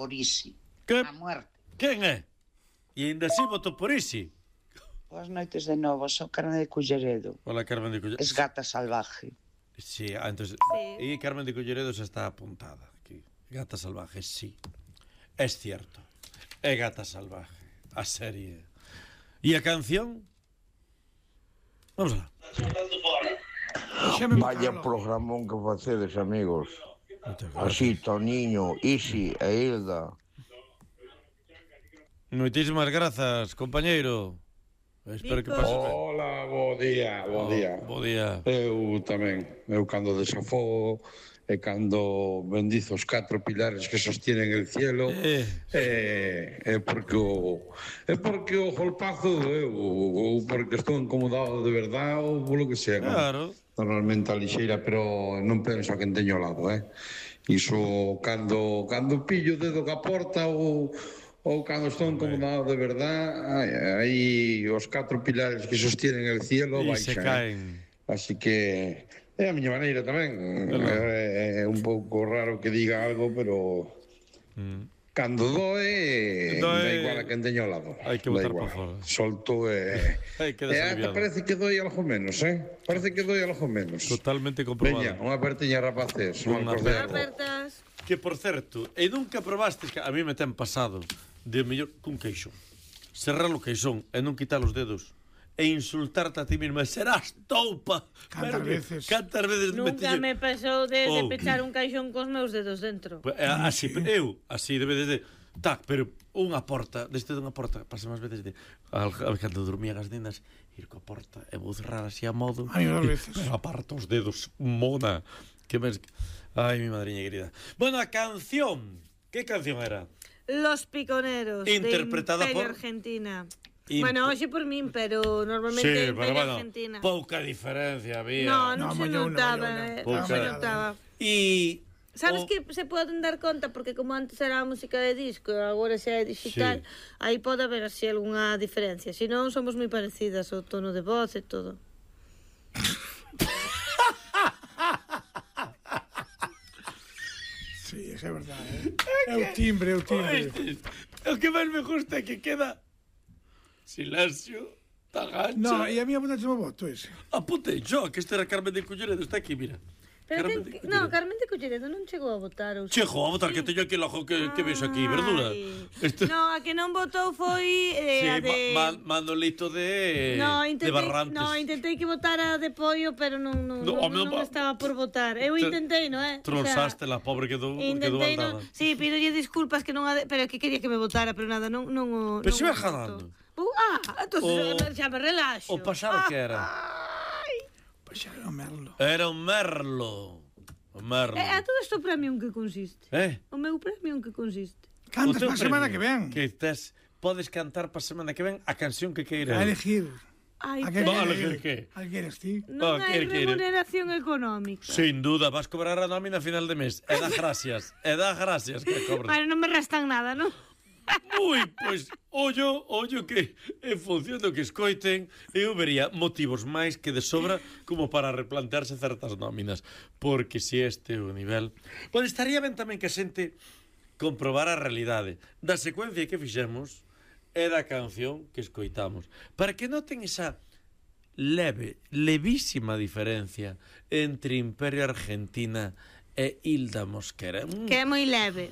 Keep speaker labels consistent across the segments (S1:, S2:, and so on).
S1: por Isi.
S2: Que?
S1: A muerte.
S2: Quen é? E ainda así votou por Isi.
S1: Boas noites de novo, sou Carmen de Culleredo.
S2: Hola, Carmen de Culleredo.
S1: Es gata salvaje.
S2: Sí, entonces...
S3: Sí.
S2: E Carmen de Culleredo xa está apuntada aquí. Gata salvaje, sí. Es cierto. É Gata salvaje. A serie. E a canción? Vamos lá.
S4: Vaya programón que facedes, amigos. Así, Toniño, Isi e Hilda.
S2: Moitísimas grazas, compañeiro. Espero que pases ben.
S5: Hola, bo día, bo día.
S2: Bo día.
S5: Eu tamén, cando desafogo e cando bendizo os 4 pilares que sostienen el cielo, é porque o golpazo doeu, ou porque estou incomodado de verdade, ou polo que sea.
S2: Claro.
S5: Normalmente a lixeira, pero non penso a quen teño ao lado, Iso, cando pillo o dedo que aporta ou cando estou incomodado de verdade, aí os 4 pilares que sostienen el cielo
S2: E
S5: baixan.
S2: se caen.
S5: Así que é a miña maneira tamén. É un pouco raro que diga algo, pero cando doe, dá igual a quen teño ao lado.
S2: Hai que botar para fora.
S5: Solto
S2: Hai que desaliviado.
S5: parece que doi algo menos, Parece que doi algo menos.
S2: Totalmente comprobado.
S5: Veña, unha apertiña, rapaces.
S2: Unha
S3: Apertas.
S2: Que, por certo, e nunca probastes, que a mí me ten pasado, de mellor cun queixón. Cerrar o queixón e non quitar os dedos e insultarte a ti misma, serás toupa.
S6: Cantas veces.
S2: Cantas veces
S3: Nunca me pasou de
S2: Oh.
S3: pechar un caixón cos meus dedos dentro.
S2: Así, así debe de tac, pero unha porta, desde dunha porta, pasa máis veces de cando dormían as nenas, ir coa porta e vou cerrar así a modo.
S6: Ai, as veces.
S2: Pero aparta os dedos, mona. Que mes... Ai, mi madriña querida. Bueno, a canción. Que canción era?
S3: Los Piconeros,
S2: Interpretada
S3: de Imperio
S2: por-
S3: Argentina. Bueno, hoxe por min, pero normalmente
S2: Sí,
S3: Imperio Argentina.
S2: pouca diferencia había.
S3: Non se
S6: mallou
S3: notaba,
S6: una.
S2: Pouca.
S3: non se notaba.
S2: E
S3: Sabes que se poden dar conta, porque como antes era a música de disco e agora xa é digital, aí pode haber así algunha diferencia. Se non, somos moi parecidas, o tono de voz e todo.
S6: Sí, é verdade. É o timbre, é o timbre.
S2: O que máis me gusta é que queda silencio, tagancha.
S6: No, e a mí apuntaste o voto ese.
S2: Apuntei yo, que este era Carmen de Culleredo, está aquí, mira.
S3: Pero
S2: Carmen
S3: ten
S2: de
S3: que... No,
S2: Culleredo.
S3: Carmen de Culleredo non chegou a votar. Ou
S2: Chejo, a votar, que teño aquí el ojo que vexo aquí, verdura.
S3: No, a que non votou foi
S2: Sí,
S3: a de...
S2: Manolito de Barrantes.
S3: No, intentei que votara de Pollo, pero non estaba por votar. Eu intentei, non é?
S2: Tronsaste la pobre quedou
S3: Intentei,
S2: andada.
S3: sí, pídolle disculpas que non pero que quería que me votara, pero nada, non
S2: Pero se vai ganando.
S3: Entonces xa me relaxo.
S2: O pasado que era?
S6: Pois era o Merlo.
S2: Era un merlo. O merlo.
S3: A todo isto o premio en que consiste? O meu premio en que consiste?
S6: Cantas para a semana que ven.
S2: Que podes cantar para a semana que ven a canción que queiras.
S6: A elegir.
S3: Ai,
S6: A
S3: pero...
S2: elegir que?
S6: A que eres ti.
S3: Non hai remuneración económica.
S2: Sin duda, vas cobrar a nómina a final de mes. E dá gracias. Que cobres.
S3: Bueno, non me restan nada, non?
S2: Ui, pois, ollo que en función do que escoiten eu vería motivos máis que de sobra como para replantearse certas nóminas, porque se este é o nivel, pois estaría ben tamén que a xente comprobar a realidade da secuencia que fixemos e da canción que escoitamos, para que noten esa levísima diferencia entre Imperio Argentina e Hilda Mosquera.
S3: Que é moi leve.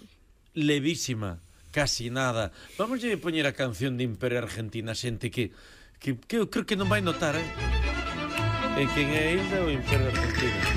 S2: Levísima. Casi nada. Vamos a poñer a canción de Imperio Argentina, xente que eu creo que non vai notar, en quen é Hilda ou Imperio Argentina.